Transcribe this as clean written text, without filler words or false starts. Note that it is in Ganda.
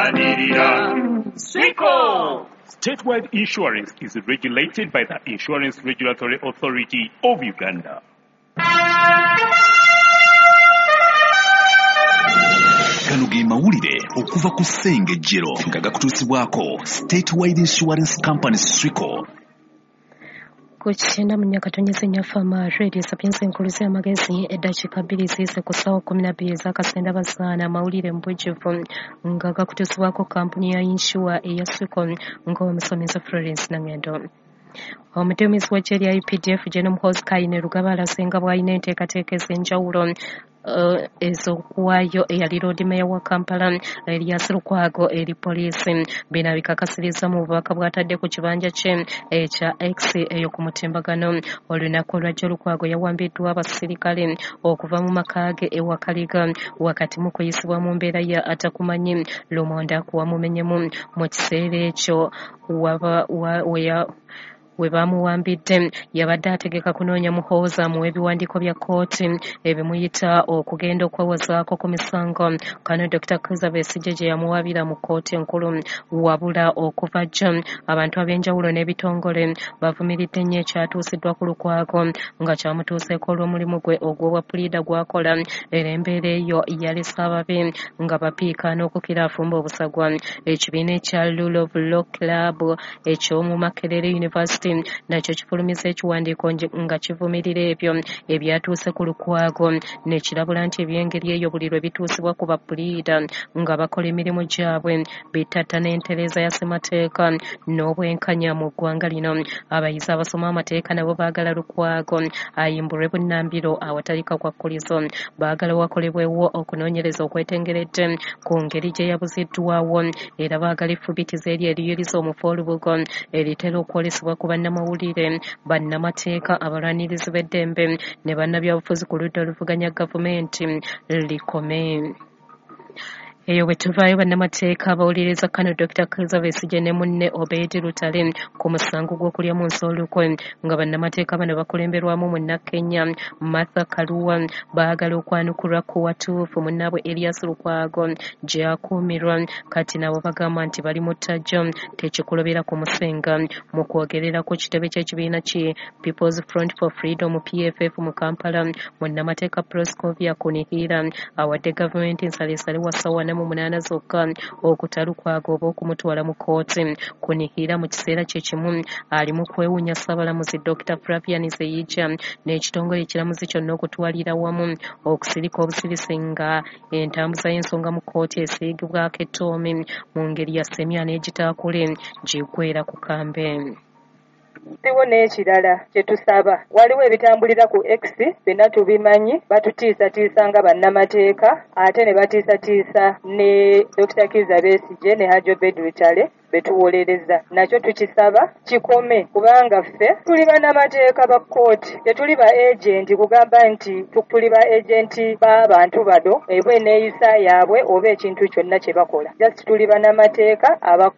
Tulwanirira Swico. Statewide Insurance is regulated by the Insurance Regulatory Authority of Uganda. Gano ge mawulire okuva ku Ssengejjero nga gakutuusibwako Statewide Insurance Company Swico. Ku 94.4 Fama Radio Sapienza enkulu z'amagezi, eddakiika 2 ziyise ku ssaawa 12 ez'akasenda bazaana. Amawulire mu bujjuvu nga gakutuusibwako kampuni ya yinsuwa eya Swico, ng'omusomesa Florence Nangendo. Omuduumizi w'eggye lya UPDF Gen Muhoozi Kainerugaba alaze nga bw'alina enteekateeka ez'enjawulo ez'okuwaayo eyali Loodi Meeya wa Kampala Erias Lukwago eri poliisi. Bino abikakasiriza mu bubaka bw'atadde ku kibanja kye ekya X eyo ku mutimbagano. Olunaku olwajjo Lukwago yawambiddwa abasirikale okuva mu maka ge e Wakaliga wakati mu kuyisibwa mu mbeera ya atakumanyi lumonde akuwamumenyemu. Mu kiseera ekyo we bamuwambidde yabadde ategeka kunoonya Muhoozi amuwe ebiwandiiko bya kkooti ebimuyita okugenda okwewozaako ku misango kano Dr. Kizza Besigye gye yamuwabira mu kkooti enkulu. Wabula okuva jjo abantu ab'enjawulo n'ebitongole bavumiridde nnyo ekyatuusiddwa ku Lukwago nga kyamutuuseeko olw'omulimu gwe ogw'obwa puliida gw'akola, era embeera eyo yalese ababi nga bapiika n'okukira afumba obusagwa. Ekibiina ekya Rule of Law Club eky'omu Makerere University nakyo kifulumiza ekiwandiiko nga kivumirira ebyo ebyatuuse ku Lukwago, nekirabula nti eby'engeri eyo buli lwe bituusibwa ku bapuliida nga bakola emirimu gyabwe bitatta n'entereeza ya ssemateeka n'obwenkanya mu ggwanga lino. Abayizi abasoma amateeka nabo baagala Lukwago ayimbulwe bunnambiro awatali kakwakkulizo. Baagala wakolebwewo okunoonyereza okwetengeredde ku ngeri gye yabuziddwawo, era baagala effubitizo eryo eriyuliza omufu olubugo eritera okwolesebwa ku bannamawulire, bannamateeka, abalwanirizi b'eddembe ne bannabyabufuzi ku ludda oluvuganya gavumenti likome. Eyo bwe tuvaayo, bannamateeka abawuliriza kano Dr. Kizza Besigye ne munne Obed Lutale ku musango gw'okulya mu nsi olukwe, nga bannamateeka bano bakulemberwamu munnakenya Martha Karua, baagala okwanukulwa ku watuufu munnaabwe Erias Lukwago gy'akuumirwa. Kati nabo bagamba nti bali mu ttajjo tekikulobera kumusenga. Mu kwogerera ku kitebe ky'ekibiina ki People's Front for Freedom PFF mu Kampala, munnamateeka Proscovia Kunihira awadde gavumenti nsalesale wa ssaawa 48 zokka okuta Lukwago oba okumutwala mu kkooti. Kunihira mu kiseera kye kimu ali mu kwewuunya Ssaabalamuzi Dr. Flavian Zeija n'ekitongole ekiramuzi kyonna okutwalira wamu okusirika obusirisi nga entambuza y'ensonga mu kkooti esiigibwako ettoomi mu ngeri ya ssemya n'egitaakule giggweera ku kambe. Waliwo n'ekirala kye tusaba, waliwo ebitambulira ku X byonna tubimanyi, batutiisatiisa nga bannamateeka ate ne batiisatiisa ne Dr. Kizza Besigye ne Hajji Obed Lutale betuwolereza. Nakyo tukisaba kikome, kubanga ffe tuli bannamateeka ba kkooti, tetuli ba agenti kugamba nti tuli ba agenti b'abantu bano eba eneeyisa yaabwe oba ekintu kyonna kye bakola. Just tuli bannamateeka aba